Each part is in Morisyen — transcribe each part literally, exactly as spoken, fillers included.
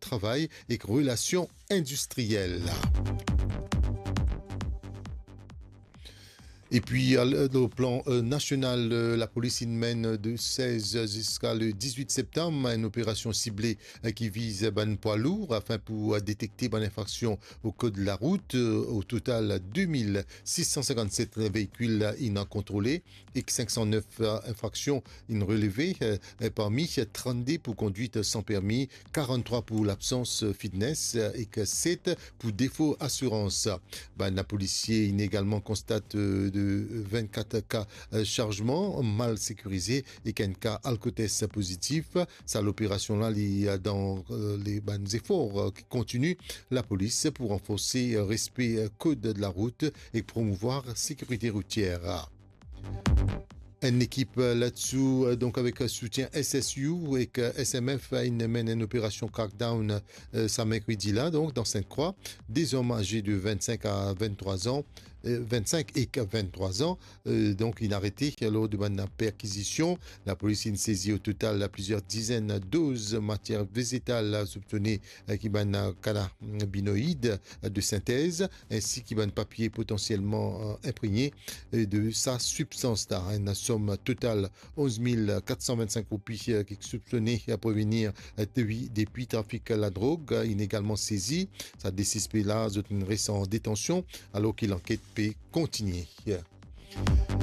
travay ek relasion indistriel. Epi, al-, dan plan, eh, nasional, eh, lapolis inn menn de sez ziska le diz-wit septam enn operasion sible, eh, ki viz bann pwa lour afin pou, eh, detekte bann infraksion o kod larout. Eh, o total, de mil sis san sinkant-set veikil inn kontrole ek sink san nef, eh, infraksion inn releve, eh, parmi trannde pou kondwit san permi, karanntrwa pou labsans fitness, eh, ek set pou defo asirans. Bann lapolisie inn egalman konstate, eh, de vennkat ka, eh, sarzman mal sekirize ek enn ka alkotes pozitif. Sa loperasion la, li, eh, dan, eh, le, bann zefor, eh, ki kontini lapolis pou ranforse, eh, respe, eh, kod larout ek promouvwar sekirite routier. Enn ekip, eh, ladsou, eh, donk avek, eh, soutien S S U ek, eh, S M F, eh, inn menn enn operasion crackdown, eh, sa merkredi la, donk dan Sinte-Krwa. De zom aze de vennsenk a venntrwa an, eh, vennsenk ek venntrwa an, eh, donk inn arete lor de bann perkizision. Lapolis inn sezi o total plizier dizenn doz matier vezetal soupsone, eh, ki bann, eh, kanabinoid, eh, de sintez, ensi ki bann papie potansielman, eh, inpregne, eh, de sa sibstans la. Enn som total onz mil kat san vennsink roupi, eh, ki soupsone, eh, provenir, eh, depi, depi trafik ladrog, eh, inn egalman sezi. Sa de sispe la, zot inn res an detansion, alor ki lanket pe kontinie.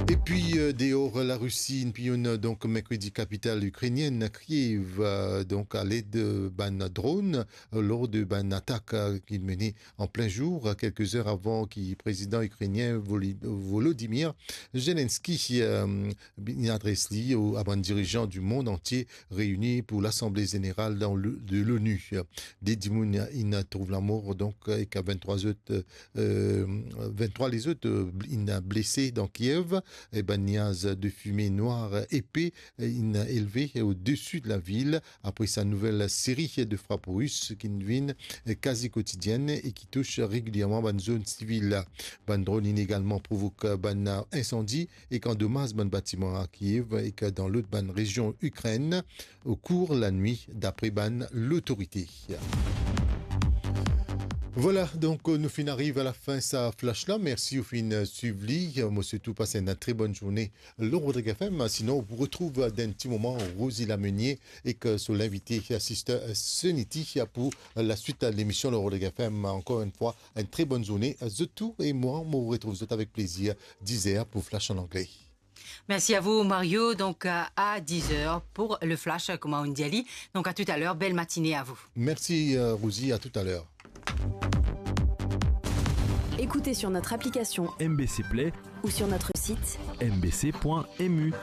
Epi, eh, deor Larisi, inn pilonn, donk, merkredi, kapital ikrenienn, Kiev, eh, donk, aled, eh, bann dron, eh, lor de bann atak, eh, ki mene an plin zour, eh, kelke zer avan ki prezidan ikrenien Voli-, Volodymyr Zelensky, eh, inn adres li o, a bann dirizan dimond antie reini pou Lasanble Zeneral dan le, de l'ONU. De dimoun inn trouv lamor, donk, ek venntrwa zot, eh, venntrwa lezot, eh, inn blese dan Kiev. E bann niaz de fime nwar epe, eh, inn elve odesi de lavil apre sa nouvel seri de frap ris ki vinn, eh, kazi kotidienn e ki tous regilierman bann zone sivil. Bann dron inn egalman provok bann insandi ek andomaz bann batiman a Kiev ek dan lot bann rezion Ikrenn okour lanwit, dapre bann lotorite. Vwala, donk, nou finn ariv a lafin sa flash la. Mersi ou finn swiv li. Mo swet ou pas enn tre bonn zourne lor Rodrig F M. Sinon, ou pou retrouv dan enn ti moman Rosie Lamenier ek so linvite, Sister Sunity, pou laswit lemision lor Rodrig F M. Ankor enn fwa, enn tre bonn zourne zot tou, e mwa, mo retrouv zot avek plezir diz er pou Flash an angle. Merci à vous, Mario. Donc, à, à dix heures pour le flash, comme on dit, Ali. Donc, à tout à l'heure. Belle matinée à vous. Merci, euh, Rosie. À tout à l'heure. Écoutez sur notre application M B C Play ou sur notre site M B C point M U.